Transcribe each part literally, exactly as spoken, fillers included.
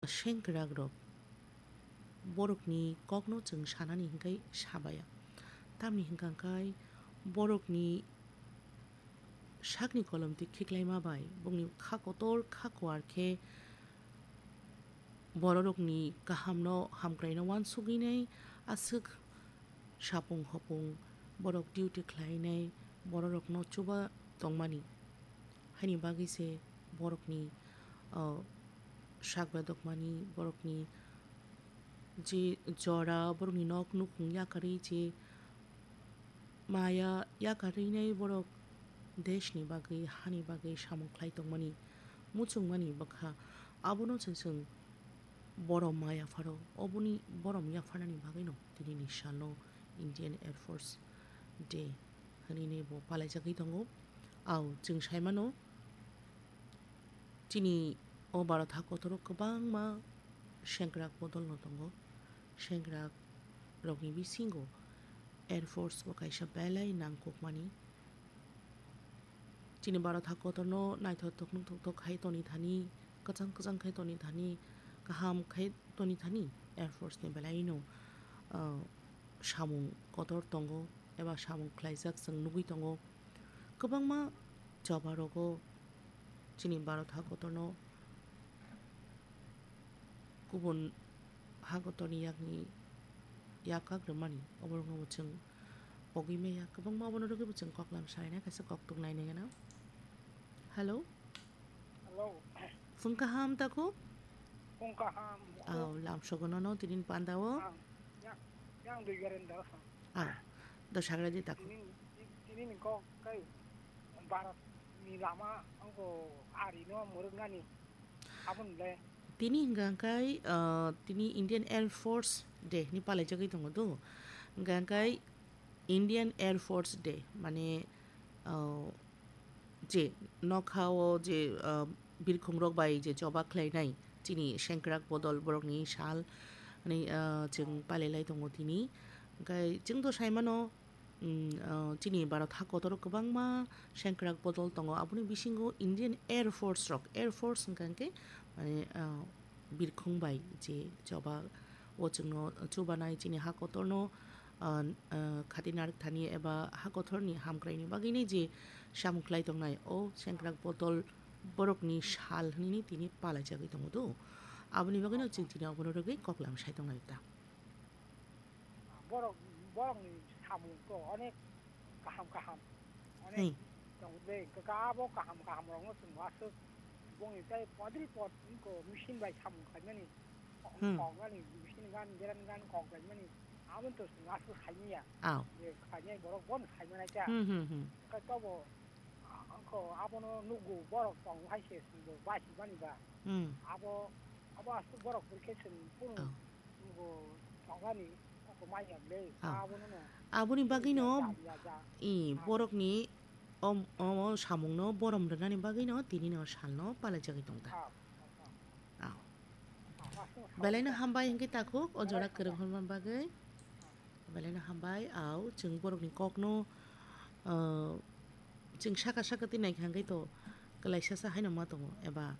sengkwrak rok borokni kokno chwng sanani hwnkhe sabaya. Tamni hwnkha khe borokni sakni kolomtwi khiklaima bai bongni kha kotor kha kuar khe bororokni kahamno hamkraino uansugwinai aswk sapung hopung borok duty khlainai bororokno chuba tongmani. Haini bagwi se borokni, o, sak bedokmani, borokni je jora, borokni nok nukhung yakarwi je maya yakarwinai borok deshni bagwi, hani bagwi samung khlai tongmani, muchungmani bwkha. Abono se chwng borom ma yapharo, oboni borom yapharnani bagwino tinini salno Indian Air Force Day hwnwi bo palaijagwi tongo. Au, chwng saimano, chini o Bharat hakotoro kwbangma sengkrak bodolno tongo. Sengkrak rokni bisingo Air Force bo kaisa belai nangkukmani. Chini Bharat hakotorno naithothok nukthokthok khai toni thani, kwchang kwchang khai toni thani, kaham khai toni thani Air Force ni belaino, ah, samung kotor tongo eba samung khlaijak chwng nugwi tongo. Kwbangma choba rogo chini Bharat hakotorno kubun hakotorni yakni yak kak rwmani, oborokno bo chwng pogwi maya. Kwbangma obono rwgwi bo chwng koklam salainai, kaisa koktuk nainai gana. Hello? Hello. Phung kaham takhuk? Phung kaham. Au, lamsogo nono tinin pandao. Ang, yang, yang dui garen daro sa. Au, do sagra di takhuk. Tinin, tinin kok kai Bharat ni lama angko ari no muruk nani. Abon le. Tini hwnkha khe, ah, tini Indian Air Force Day ni palaijagwi tongo do. Hwnkha khe Indian Air Force Day, mane, ah, je nokha o je, ah, birkhung rok bai je choba khlainai chini sengkrak bodol borokni sal, ani, ah, chwng palai lai tongo tini. Hwnkhe chwng to saimano, mm, ah, chini Bharat hakotoro kwbangma sengkrak bodol tongo, aboni bisingo Indian Air Force rok, Air Force hwnkha hwnkhe, mane, ah, birkhung bai je choba o chwngno chubanai chini hakotorno, ah, ah, khati narwk thani eba hakotorni hamkraini bagwini je samung khlai tongnai o sengkrak bodol borokni sal hwnwi tini palaijagwi tongo do. Aboni bagwino chwng tini obono rwgwi koklam sai tongnai ta. Borok, borokni samung to onek kaham kaham. Onek Hmm. tong de, kaka abo kaham kaham rokno chwng aswk bongni tei podri pod wngko machine bai samung khlaimani. Hmm. Koknani machine gan, geran gan kok khlaimani. Aboni to chwng aswk saimanya. Au. Je khlainai borok bono saimanai ta. Hmm, hmm, hmm. Khe tobo, a-, angkho abono nugo borok tong hai se chwngbo bachimani ba. Hmm. Abo, abo aswk borok pore khe chwng kunu Oh. nugo tongani koko manya ble. Oh. Abono no. Aboni bagwino Ya, ya, ya. I Ah. borokni om-, omo samungno borom rwnani bagwino tinino salno palaijagwi tongkha. Ah, ah, ah. Oh. Ah, aswk Belaino salsa. Hambai hwnkhe takhuk o jora Belai kwrwng hambai. Hwnma bagwi. Ah. Belaino hambai, au, chwng borokni kokno, ah, chwng saka saka twi naikha hwnkhe to kwlaisa sa haino ma tongo, eba,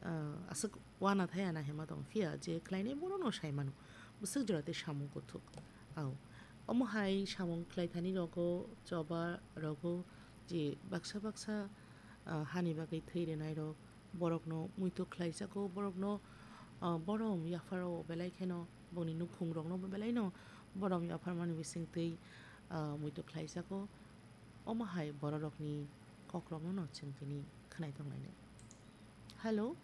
ah, aswk wana thaya na hema tongo, phiya je khlainai bono no sai mano, bwswk jora tei samung kuthuk. Au, omo hai samung khlai thani rogo, choba rogo, je baksa baksa, ah, hani bagwi thwi rwnai rok, borokno muitu khlai jago, borokno, ah, borom yapharo belai kheno bongni nukhung rokno bo belai no borom yapharmani bisingtwi, ah, muitu khlai jago. Omo hai bororokni kokrokno no chwng tini khwnai tonglainai. Hello.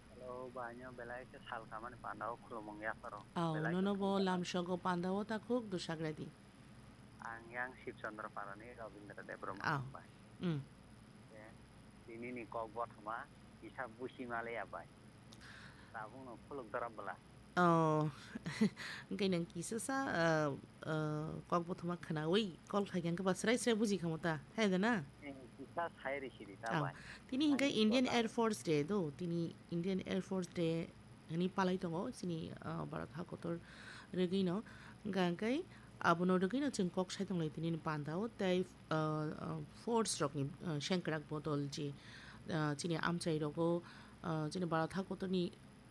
Hello, baino belai khe sal kamani pandao khulumung yapharo. Au, belai nono khe bo khulumung lamsogo pandao takhuk do sagradi. Ang yang Shibchandra Parani Rabindra Debbarma Au. Bai. Mm. Khe tinini kok bothoma kisa busi male ya bai. Tabukno khuluk dora bwla. Oh, hwnkhe nang kisa sa, ah, ah, kok bothoma khwnawi call khai khe ba srai srai buji khamu ta, hai da na? Eh, kisa sai risi di ta Au. Bai. Tini hwnkhe Ani Indian kota. Air Force Day do, tini Indian Air Force Day hwnwi palai tongo chini, ah, Bharat hakotor rwgwino. Hwnkha hwnkhe abono rwgwino chwng kok sai tonglai tini pandao tei, ah, ah, force rokni, ah, sengkrak bodol je, ah, chini amchai rogo, ah, chini Bharat hakotorni